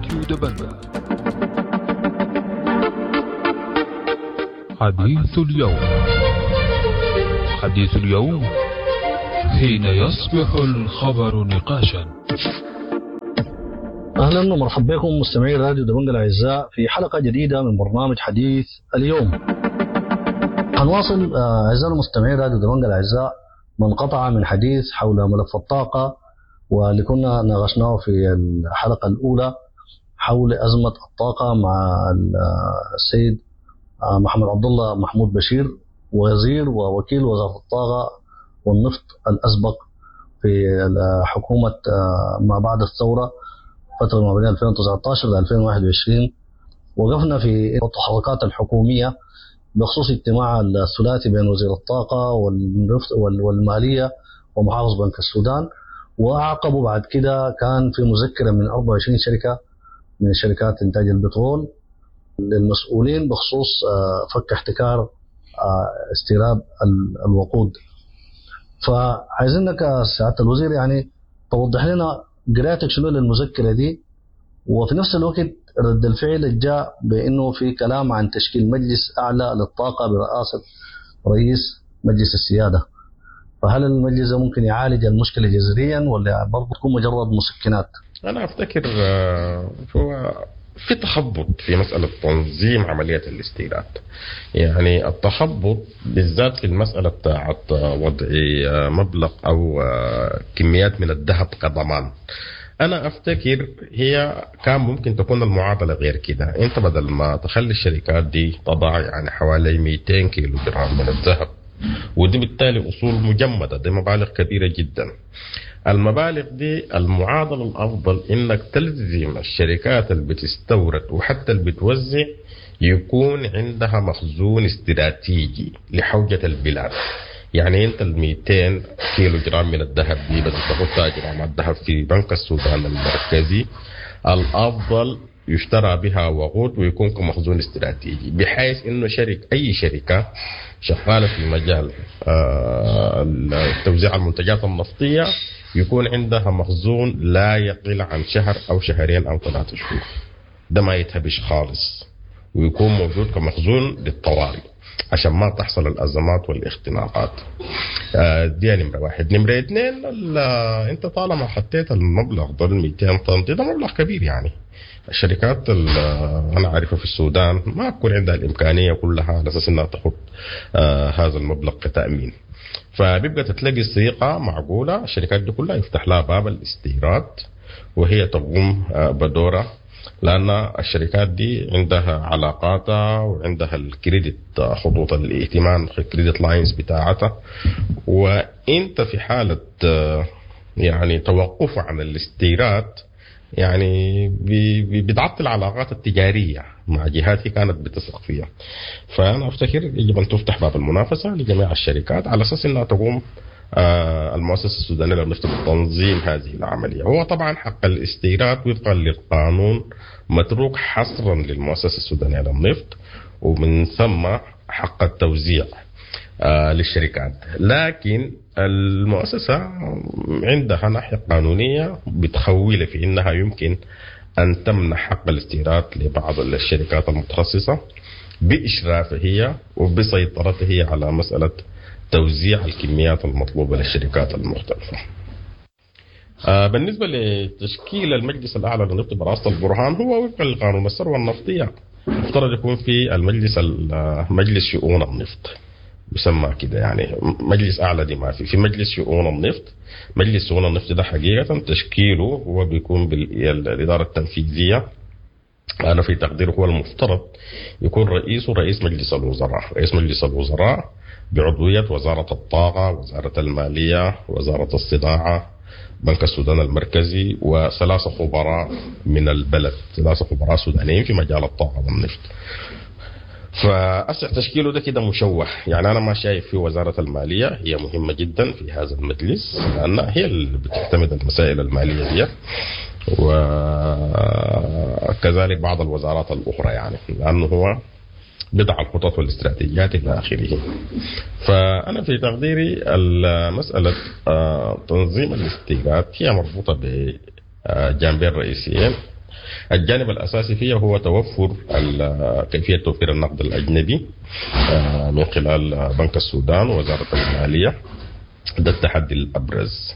راديو دبنجة. حديث اليوم، حديث اليوم حين يصبح الخبر نقاشا. اهلا ومرحبا بكم مستمعي راديو دبنجة الاعزاء في حلقة جديدة من برنامج حديث اليوم. هنواصل اعزائنا المستمعين راديو دبنجة الاعزاء ما انقطع من حديث حول ملف الطاقة واللي كنا ناقشناه في الحلقة الاولى حول ازمة الطاقة مع السيد محمد عبد الله محمود بشير، وزير ووكيل وزارة الطاقة والنفط الاسبق في حكومة ما بعد الثورة، فترة ما بين 2019 ل 2021. وقفنا في التحركات الحكومية بخصوص اجتماع الثلاثي بين وزير الطاقة والنفط والمالية ومحافظ بنك السودان، واعقبوا بعد كده كان في مذكره من 24 شركة من شركات انتاج البترول للمسؤولين بخصوص فك احتكار استيراد الوقود. فعايزينك سعادة الوزير يعني توضح لنا قراءتك شنو للمذكره دي، وفي نفس الوقت رد الفعل اللي جاء بانه في كلام عن تشكيل مجلس اعلى للطاقة برئاسة رئيس مجلس السيادة. فهل المجلس ده ممكن يعالج المشكلة جذريا ولا برضه تكون مجرد مسكنات؟ أنا أفتكر هو في تخبط في مسألة تنظيم عملية الاستيراد. يعني التخبط بالذات في المسألة بتاعت وضع مبلغ أو كميات من الذهب كضمان. أنا أفتكر هي كان ممكن تكون المعادلة غير كده. أنت بدل ما تخلي الشركات دي تضع يعني حوالي 200 كيلو جرام من الذهب، ودي بالتالي أصول مجمدة، دي مبالغ كبيرة جدا. المبالغ دي المعادلة الأفضل إنك تلزم الشركات اللي بتستورد وحتى اللي بتوزع يكون عندها مخزون استراتيجي لحوجة البلاد. يعني انت ال 200 كيلو جرام من الذهب دي بدل تحطها جرامات ذهب في بنك السودان المركزي، الافضل يشترى بها وقود ويكون كمخزون استراتيجي، بحيث انه اي شركة شغالة في مجال توزيع المنتجات النفطية يكون عندها مخزون لا يقل عن شهر او شهرين او 3 شهور، ده ما يتهبش خالص، ويكون موجود كمخزون للطوارئ عشان ما تحصل الأزمات والاختناقات. دي نمرة واحد. نمرة اثنين، انت طالما حطيت المبلغ ده 200 طن، ده مبلغ كبير. يعني الشركات اللي انا عارفها في السودان ما بكون عندها الإمكانية كلها على أساس انها تحط هذا المبلغ كتأمين، فبيبقى تتلاقي صيغة معقولة الشركات دي كلها يفتح لها باب الاستيراد وهي تقوم بدورها، لأن الشركات دي عندها علاقاتها وعندها ال credit، خطوط الائتمان، ال credit lines بتاعتها. وانت في حالة يعني توقف عن الاستيراد يعني بتعطل العلاقات التجارية مع جهات هي كانت بتثق فيها. فأنا أفتكر يجب أن تفتح باب المنافسة لجميع الشركات على أساس أنها تقوم المؤسسة السودانية للنفط بتنظيم هذه العملية. هو طبعا حق الاستيراد وفقا للقانون متروك حصرا للمؤسسة السودانية للنفط، ومن ثم حق التوزيع للشركات، لكن المؤسسة عندها ناحية قانونية بتخول في إنها يمكن أن تمنح حق الاستيراد لبعض الشركات المتخصصة بإشرافها هي وبسيطرتها هي على مسألة توزيع الكميات المطلوبة للشركات المختلفة. بالنسبة لتشكيل المجلس الأعلى للنفط برئاسة البرهان، هو وفقا لقانون الثروة النفطية مفترض يكون في المجلس مجلس شؤون النفط، يسمى كده، يعني مجلس أعلى دي ما في مجلس شؤون النفط. مجلس شؤون النفط ده حقيقة تشكيله هو بيكون بالإدارة التنفيذية. أنا في تقديره هو المفترض يكون رئيسه رئيس مجلس الوزراء، رئيس مجلس الوزراء بعضوية وزارة الطاقة، وزارة المالية، وزارة الصناعة، بنك السودان المركزي، وثلاثة خبراء من البلد، 3 خبراء سودانيين في مجال الطاقة والنفط. فأسع تشكيله ده كده مشوه، يعني أنا ما شايف في وزارة المالية هي مهمة جدا في هذا المجلس، لأنها هي اللي بتعتمد المسائل المالية دي، وكذلك بعض الوزارات الأخرى، يعني لأنه هو بضع الخطط والاستراتيجيات إلى آخره. فأنا في تقديري مسألة تنظيم الاستيراد هي مربوطة بجانبين رئيسيين. الجانب الأساسي فيها هو توفر كيفية توفير النقد الأجنبي من خلال بنك السودان ووزارة المالية. ده التحدي الأبرز.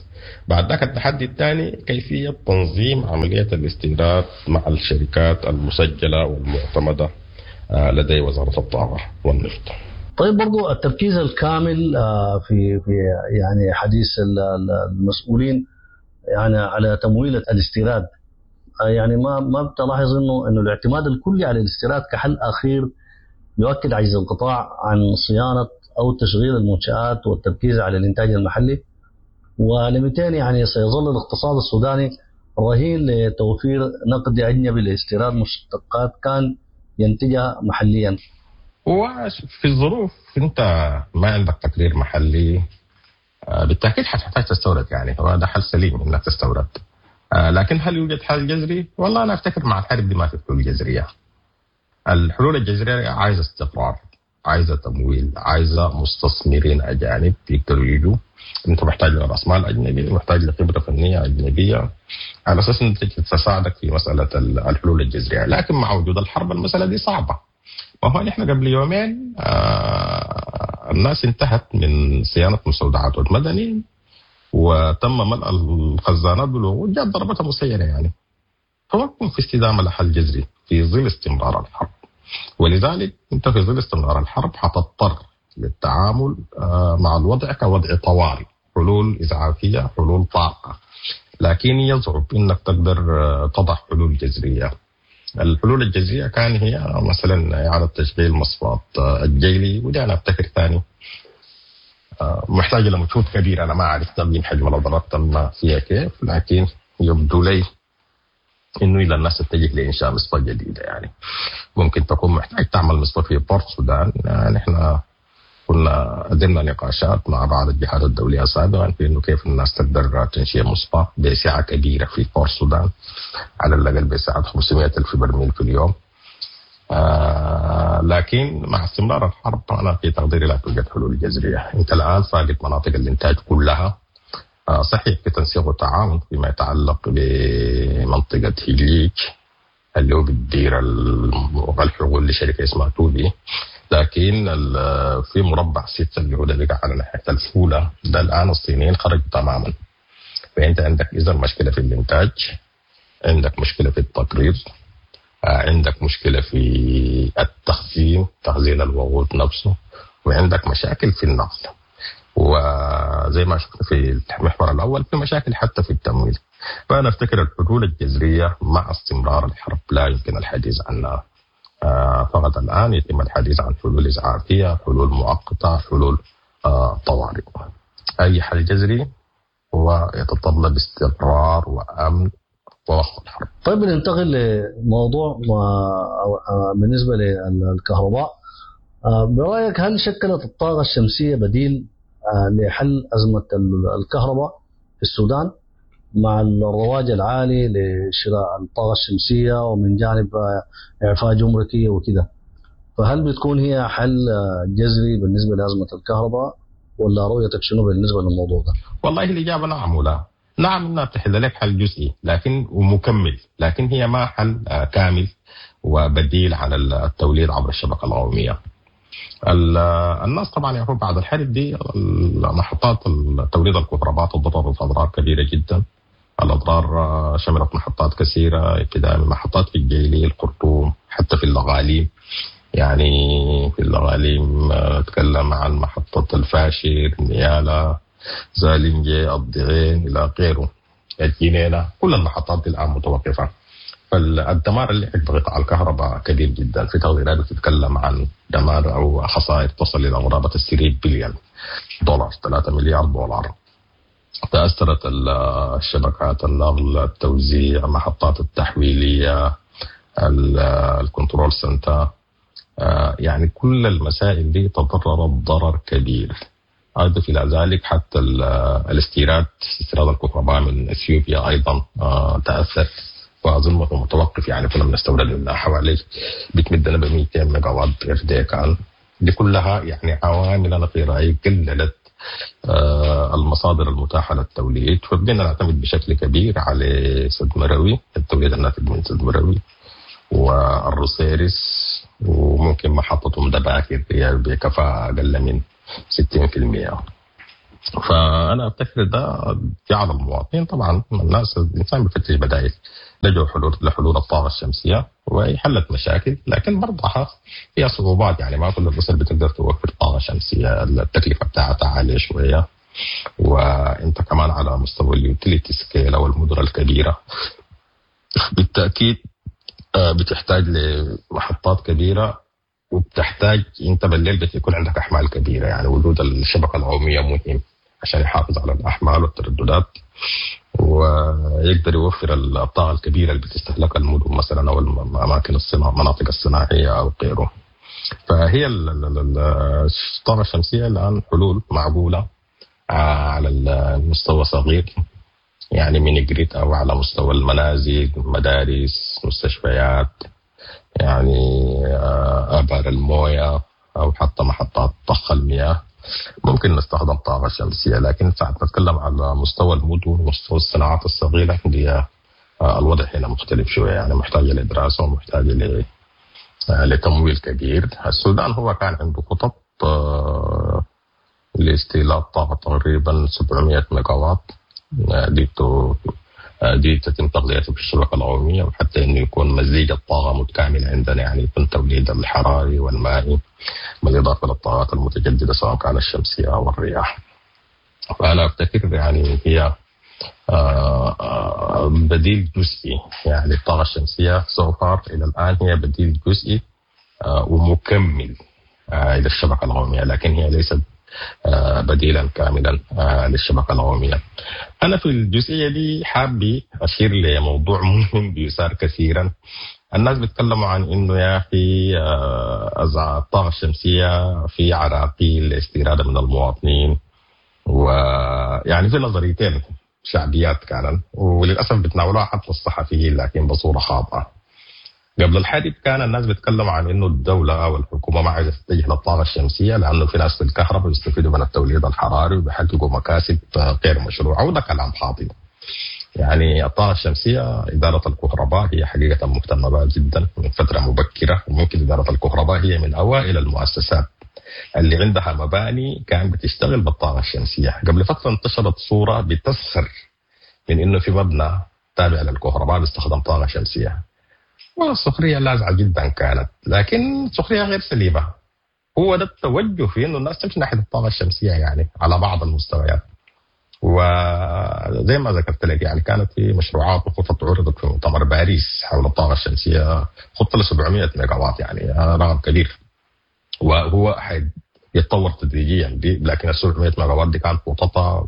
بعد ذاك التحدي الثاني كيفية تنظيم عملية الاستيراد مع الشركات المسجلة والمعتمدة لدي وزارة الطاقة والنفط. طيب برضو التركيز الكامل في يعني حديث المسؤولين يعني على تمويل الاستيراد، يعني ما بتلاحظ انه الاعتماد الكلي على الاستيراد كحل اخير يؤكد عجز القطاع عن صيانة او تشغيل المنشآت والتركيز على الانتاج المحلي، ولمتين يعني سيظل الاقتصاد السوداني رهين لتوفير نقد اجنبي لاستيراد مشتقات كان ينتجها محليا. هو في الظروف انت ما عندك تقرير محلي بالتاكيد حتحتاج تستورد، يعني هو ده حل سليم انك تستورد. لكن هل يوجد حل جذري؟ والله انا افتكر مع الحرب دي ما في حلول جذرية. الحلول الجذرية عايزه استقرار، عايزه تمويل، عايزه مستثمرين اجانب يقدروا يجوا. انت محتاج لراس مال اجنبي، محتاج لخبره فنية اجنبية على اساس ان تساعدك في مسالة الحلول الجذرية، لكن مع وجود الحرب المسالة دي صعبة. وهو نحن قبل يومين الناس انتهت من صيانة مستودعات المدني وتم ملء الخزانات بالوقود، جاءت ضربتها مسيره يعني. فما بكون في استدامه لحل جذري في ظل استمرار الحرب. ولذلك انت في ظل استمرار الحرب حتضطر للتعامل مع الوضع كوضع طوارئ، حلول اسعافيه، حلول طارئة. لكن يصعب انك تقدر تضع حلول جذرية. الحلول الجذرية كان هي مثلا اعاده تشغيل مصفات الجيلي، ودي انا افتكر ثاني محتاجه لمجهود كبير، انا ما اعرف تقييم حجم الاضرار تم فيها كيف، لكن يبدو لي انه الى الناس تتجه لانشاء مصفاة جديدة. يعني ممكن تكون محتاج تعمل مصفاة في بورت السودان. نحن كنا قدمنا نقاشات مع بعض الجهات الدولية سابقا في انه كيف الناس تقدر تنشئ مصفاة بسعة كبيرة في بورت السودان، على الاقل بسعة 500 الف برميل في اليوم. لكن مع استمرار الحرب انا في تقديري لا توجد حلول جذرية. انت الان فاقد مناطق الانتاج كلها. صحيح في تنسيق وتعاون فيما يتعلق بمنطقة هيليج اللي هو بتدير الحقول لشركة اسمها توبي، لكن في مربع 6 اللي هو ده بقى على ناحية الفولة ده الآن الصينيين خرجوا تماما. فأنت عندك إذا مشكلة في الإنتاج، عندك مشكلة في التقرير، عندك مشكلة في التخزين، تخزين الوقود نفسه، وعندك مشاكل في النقل، وزي ما شفنا في المحور الأول في مشاكل حتى في التمويل. فأنا أفتكر الحلول الجذرية مع استمرار الحرب لا يمكن الحديث عنها. فقط الآن يتم الحديث عن حلول إسعافية، حلول مؤقتة، حلول طوارئ. أي حل جذري هو يتطلب استقرار وأمن ووقف الحرب. طيب ننتقل لموضوع بالنسبة للكهرباء. برأيك هل شكلت الطاقة الشمسية بديل لحل أزمة الكهرباء في السودان مع الرواج العالي لشراء الطاقة الشمسية ومن جانب إعفاء جمركي وكده، فهل بتكون هي حل جذري بالنسبة لأزمة الكهرباء ولا رؤيتك شنو بالنسبة للموضوع ده؟ والله الإجابة نعم ولا. نعم انها بتحل لك حل جزئي لكن ومكمل، لكن هي ما حل كامل وبديل عن التوليد عبر الشبكة القومية. الناس طبعا يعرفون بعد الحرب دي محطات توليد الكهرباء تضررت اضرار كبيرة جدا. الاضرار شملت محطات كثيرة، ابتداء من محطات في الجيلي، الخرطوم، حتى في الاغاليم. يعني في الاغاليم اتكلم عن محطة الفاشر، نيالا، زالنجي، الضعين الى غيره، الجنينة، كل المحطات دي الان متوقفه. فالدمار اللي لحق بقطاع الكهرباء كبير جدا. في تقديرات بتتكلم عن دمار او خسائر تصل الى قرابة 3 بليون دولار، 3 مليار دولار. تاثرت الشبكات، النقل، التوزيع، محطات التحويليه، ال control center، يعني كل المسائل دي تضررت ضرر كبير. أضف إلى ذلك حتى الاستيراد، استيراد الكهرباء من اثيوبيا ايضا تاثر، واظن متوقف. يعني كنا بنستورد منها حوالي بتمدنا ب 200 ميجا وات per day كان. دي كلها يعني عوامل انا في رايي قللت المصادر المتاحة للتوليد، فبقينا نعتمد بشكل كبير على سد مروي، التوليد الناتج من سد مروي والروسيرس، وممكن محطة أم دباكر هي بكفاءة أقل من 60%. فأنا أفتكر ده جعل المواطنين طبعا الناس الإنسان بيفتش بدائل، لجوا لحلول الطاقة الشمسية وهي حلت مشاكل، لكن برضها فيها صعوبات. يعني ما كل الأسر بتقدر توفر طاقة شمسية، التكلفة بتاعتها عالية شوية، وانت كمان على مستوى ال utility scale او المدن الكبيرة بالتأكيد بتحتاج لمحطات كبيرة، وبتحتاج انت بالليل بتكون عندك احمال كبيرة. يعني وجود الشبكة القومية مهم عشان يحافظ على الاحمال والترددات ويقدر يوفر الطاقة الكبيرة اللي بتستهلكها المدن مثلا او الاماكن المناطق الصناعية او غيره. فهي الطاقة الشمسية الان حلول معقولة على المستوى صغير، يعني mini grid او على مستوى المنازل، مدارس، مستشفيات، يعني ابار المويه او حتى محطات ضخ المياه ممكن نستخدم طاقة شمسية. لكن ساعة نتكلم على مستوى المدن ومستوى الصناعات الصغيرة دي الوضع هنا مختلف شوية، يعني محتاجه لدراسة ومحتاجة لتمويل كبير. السودان هو كان عنده خطط لاستيلاد طاقة تقريبا 700 ميجاوات دي تتم تغذيته في الشبكة القومية، وحتى انه يكون مزيج الطاقة متكامل عندنا، يعني يكون توليد الحراري والمائي بالاضافة للطاقات المتجددة سواء كانت الشمسية او الرياح. فانا افتكر يعني هي بديل جزئي، يعني الطاقة الشمسية so far الى الان هي بديل جزئي ومكمل الى الشبكة القومية، لكن هي ليست بديلا كاملا للشبكة القومية. أنا في الجزئية دي حابي أشير لموضوع مهم بيثار كثيرا. الناس بيتكلموا عن إنه يا أخي الطاقة الشمسية في عراقيل لاستيرادها من المواطنين، ويعني في نظريتين شعبيات كانن وللأسف بتناولوها حتى الصحفيين لكن بصورة خاطئة. قبل الحرب كان الناس بيتكلموا عن انه الدولة او الحكومة ما عايزه تتجه للطاقة الشمسية لانه في ناس في الكهرباء بيستفيدوا من التوليد الحراري وبيحققوا مكاسب غير مشروعه، وده كلام خاطئ. يعني الطاقة الشمسية ادارة الكهرباء هي حقيقة مهتمة بها جدا من فترة مبكرة، وممكن ادارة الكهرباء هي من اوائل المؤسسات اللي عندها مباني كان بتشتغل بالطاقة الشمسية. قبل فترة انتشرت صوره بتسخر من انه في مبنى تابع للكهرباء بيستخدم طاقة شمسية، والسخرية لاذعه جدا كانت، لكن سخرية غير سليمة. هو ده التوجه في انه الناس تمشي ناحية الطاقة الشمسية يعني على بعض المستويات. وزي ما ذكرت لك يعني كانت في مشروعات وخطط عرضت في مؤتمر باريس حول الطاقة الشمسية، خطه ل 700 ميجاوات، يعني رقم كبير، وهو يتطور تدريجيا دي، لكن ال 700 ميجاوات دي كانت خططها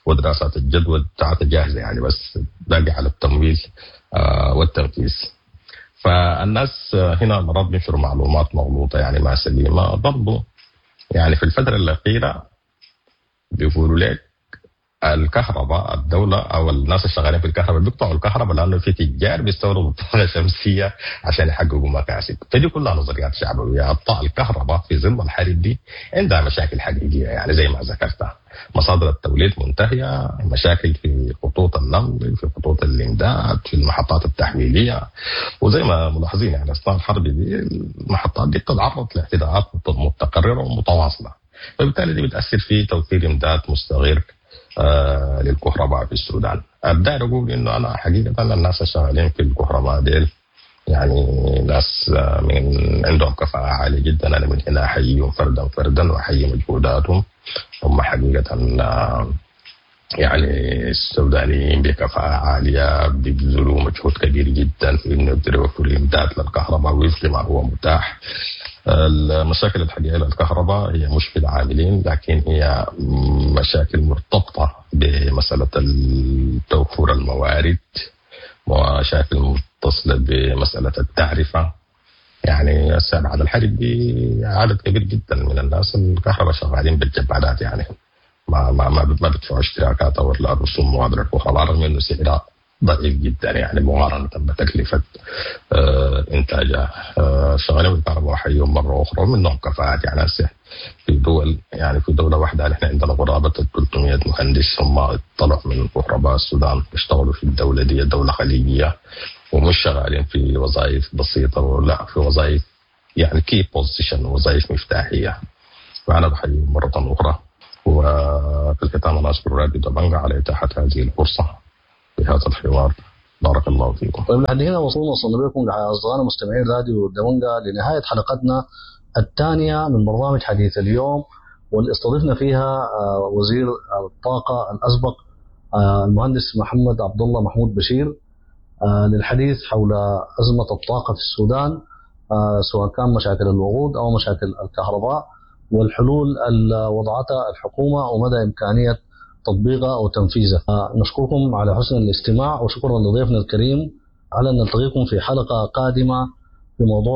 ودراسات الجدوى بتاعتها جاهزة يعني، بس باقي على التمويل والتنفيذ. فالناس هنا مرات بينشروا معلومات مغلوطة يعني ما سليمة برضو. يعني في الفترة الاخيرة بيقولوا لك الكهرباء الدولة او الناس الشغالين في الكهرباء بيقطعوا الكهرباء لانه في تجار بيستوردوا الطاقة الشمسية عشان يحققوا مكاسب، فدي كلها نظريات شعبويه. الكهرباء في ظل الحرب دي عندها مشاكل حقيقية، يعني زي ما ذكرتها مصادر التوليد منتهية، مشاكل في خطوط النقل، في خطوط الامداد، في المحطات التحويليه، وزي ما ملاحظين يعني اثناء الحرب دي المحطات دي بتتعرض لاعتداءات متكررة ومتواصله، فبالتالي دي بتاثر في توفير امداد مستغر للكهرباء في السودان. ابدا اقول انه انا حقيقة الناس الشغالين في الكهرباء ديل يعني ناس من عندهم كفاءة عالية جدا، انا من هنا احييهم فردا فردا واحيي مجهوداتهم. هم حقيقة يعني السودانيين بكفاءة عالية بيبذلوا مجهود كبير جدا في انه يقدروا يوفروا امداد للكهرباء وفق ما هو متاح. المشاكل الحقيقية للكهرباء هي مش في العاملين، لكن هي مشاكل مرتبطة بمسألة توفر الموارد، ومشاكل متصلة بمسألة التعرفة. يعني هسه بعد الحرب دي عدد كبير جدا من الناس الكهرباء شغالين بالجبادات، يعني ما ما ما ما بيدفعوا اشتراكات او رسوم مغادرة الكهرباء رغم انه سعرها ضئيل جدا يعني مقارنة بتكلفة إنتاجها. شغالين بالكهرباء وحيهم مرة أخرى، ومنهم كفاءات. يعني هسه في دول، يعني في دولة واحدة نحن عندنا قرابة 300 مهندس هم طلعوا من كهرباء السودان اشتغلوا في الدولة دي، دولة خليجية، ومش شغالين في وظائف بسيطة، ولا في وظائف يعني key position، وظائف مفتاحية. فأنا بحييهم مرة أخرى. وفي الختام أنا أشكر راديو دبنجا على إتاحة هذه الفرصة في هذا الحوار. بارك الله فيكم. طيب لحد هنا وصلنا بكم أصدقائنا مستمعين راديو دبنجا لنهاية حلقتنا الثانية من برنامج حديث اليوم، واللي استضفنا فيها وزير الطاقة الأسبق المهندس محمد عبد الله محمود بشير للحديث حول أزمة الطاقة في السودان، سواء كان مشاكل الوقود أو مشاكل الكهرباء، والحلول اللي وضعتها الحكومة ومدى إمكانية تطبيقها أو تنفيذها. نشكركم على حسن الاستماع، وشكرا لضيفنا الكريم. على أن نلتقيكم في حلقة قادمة في موضوع